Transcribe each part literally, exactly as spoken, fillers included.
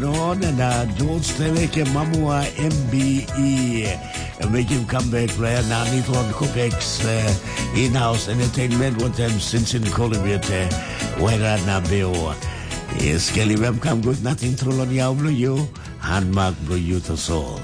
Non na George Teleke Mamua M B E. Mekim comeback player na Nitron Kupex uh, in-house entertainment wantaim Sinsin Kolibet uh, Wera na Beo. Yes, Kelly, welcome. Good nothing true on yau blue you. Handmark blue you to soul.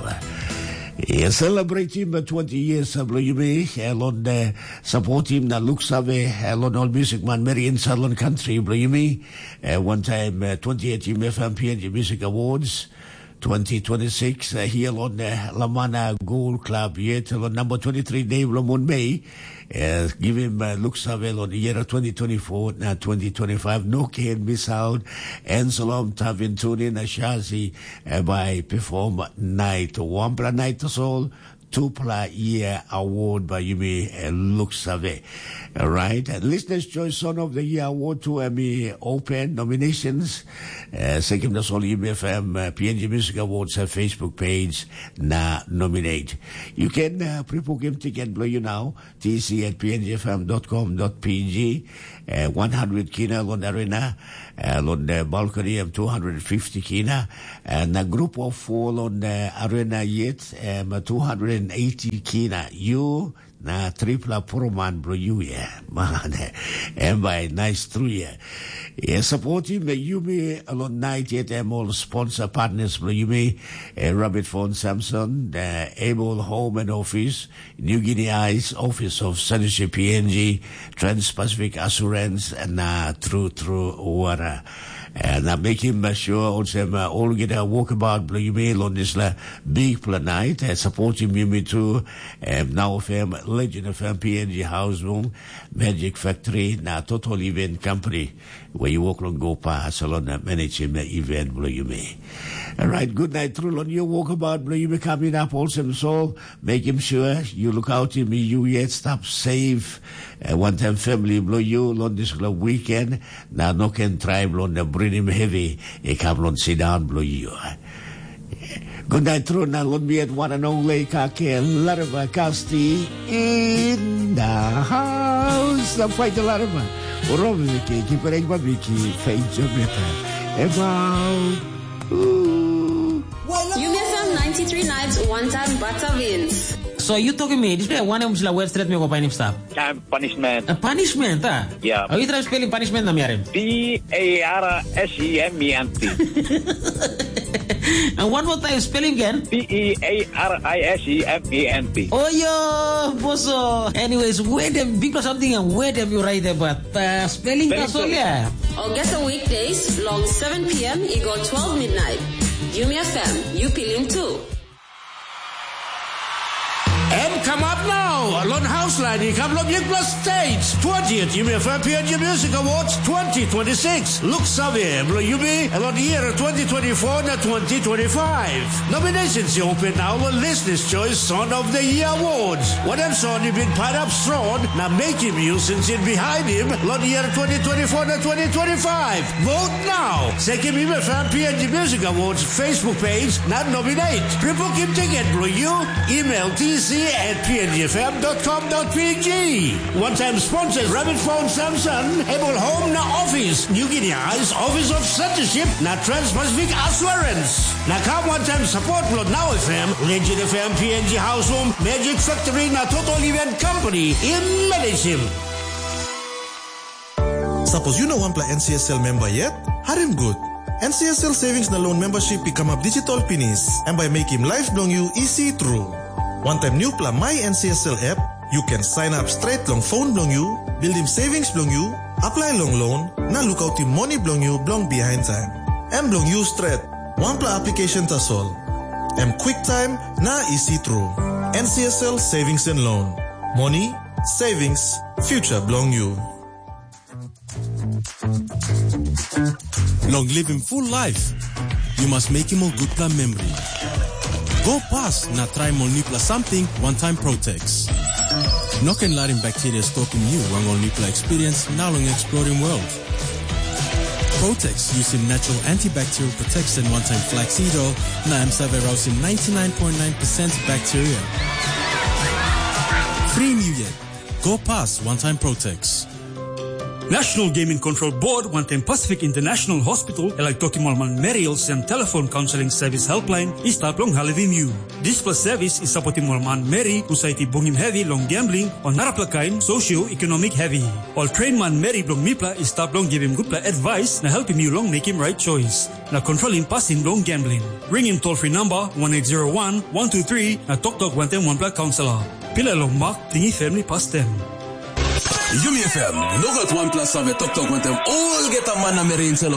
Yes, celebrating the twenty years of blue you me. Elon uh, support him na look save. Elon all music man Mary in Salon Country blue you me. Uh, one time uh, twenty eighteen F M P N G Music Awards. twenty twenty-six uh, here on uh, Lamana Gold Club yet on number twenty-three day Ramon May uh, give him uh, looks avail on the year twenty twenty-four na twenty twenty-five no can miss out and Salom Tavin Tunin Ashazi uh, by perform night Wambra night to soul Tupla Year Award by Yumi uh, Looks Ave. Right, and Listener's Choice Song of the Year Award to Emmy Open nominations. Uh, Sekim das all Yumi F M uh, P N G Music Awards uh, Facebook page na nominate. You can uh, pre-book him ticket below you now, T C at P N G F M dot com dot P G. Uh, one hundred kina lon arena, uh, lon the balcony of two hundred fifty kina, and a group of four lon the arena yet, um, two hundred eighty kina. You na tripla poroman bro you yeah, man, and by nice through yeah. Yeah, support him, uh, Yumi alon night yet, um, all sponsor partners bro Yumi, uh, Rabbit Phone Samson, the Able Home and Office, New Guinea Eyes, Office of Censorship P N G, Trans-Pacific Assurance, na True True Water. Na mekim sure olsem olgeta wokabaut bilong yumi long dispela bikpela nait, supportim yumi tu, em Nau F M, Legend F M, P N G House Room, Magic Factory, na Total Event Company. Where you work long go pass along na managing the event below you may. All right, good night through on your walkabout below you may coming up also so make him sure you look out him you yet stop safe. Uh, one time family below you on this little weekend. Now no can try on the bring him heavy. He come on sit down below you. Good night through now let me at one and only kake larva kasti in the house. Fight the larva. Robi Vicky, keep it up, Vicky. Fade your better. Ever. Ooh. Yumi F M ninety-three nights, one time butter wins. So you talking me, this guy one of the word straight me go by himself. Time punishment. A punishment, ah? Yeah. Are you trying spelling punishment, Namiarim? P A R S E M E N T. And one more time, spelling again. P E A R I S E M E N T. Oh, yo, boso. Anyways, where them big or something and where them you write about uh, spelling Spelling that's all, too. Yeah. Or get a weekdays, long seven p m, you go twelve midnight. Yumi F M, you feeling too. Em kam ap nau, long haus lain i kam long bikpela stage. Twentieth Yumi F M P N G Music Awards twenty twenty-six. Look save, bilong yumi, long year twenty twenty-four na twenty twenty-five. Nominations i open now long Listeners Choice Song of the Year Awards. Wanem song i bin pairap strong na mekim yu sinsin behind him long year twenty twenty-four na twenty twenty-five. Vote now. Sekim Yumi F M P N G Music Awards Facebook page na nominate. Pre-booking ticket bilong you, email T C at P N G F M dot com dot P G. One-time sponsors, Rabbit Phone Samson, Able Home na Office, New Guinea Eyes, Office of Censorship na Trans-Pacific Assurance. Na kam one-time support bilong Now F M, Legend F M, P N G House Home, Magic Factory na Total Event Company. Im manage him. Sapos yu no wanpela N C S L memba yet, harim gut. N C S L Savings na Loan membership i kamap digital pinis, em bai mekim laip bilong yu isi tru. Wantaim nupela My N C S L app, yu ken sign up straight long phone bilong yu, buildim savings bilong yu, apply long loan, na lukautim moni bilong yu bilong behind time. Em bilong yu stret, wanpela application tasol. Em quick time na isi tru. N C S L Savings and Loan. Moni, savings, future bilong yu. Long living full life, you must make him a good plan memory. Go past na try ol nipla something one time Protex. No ken larim bacteria stopim you wang ol nipla experience now long exploring world. Protex using natural antibacterial protection one time flaxseed oil na em save rausim ninety-nine point nine percent bacteria. Free New Year. Go past one time Protex. National Gaming Control Board wantaim Pacific International Hospital e laik tokim ol manmeri olsem telefon kaunseling sevis helpline i stap long helpim yu. Dispela sevis i sapotim ol manmeri husat i bungim hevi long gambling o narapela kain socio-economic hevi. Ol train manmeri bilong mipela i stap long givim gutpela advice na helpim yu long mekim right choice na kontrolim pasin bilong gambling. Ringim toll free number one eight zero one one two three na toktok wantaim wanpela kaunselor. Pila long mak tingi family pastem. Yumi F M, nogat wanpela save toktok wantaim olgeta man na meri insait long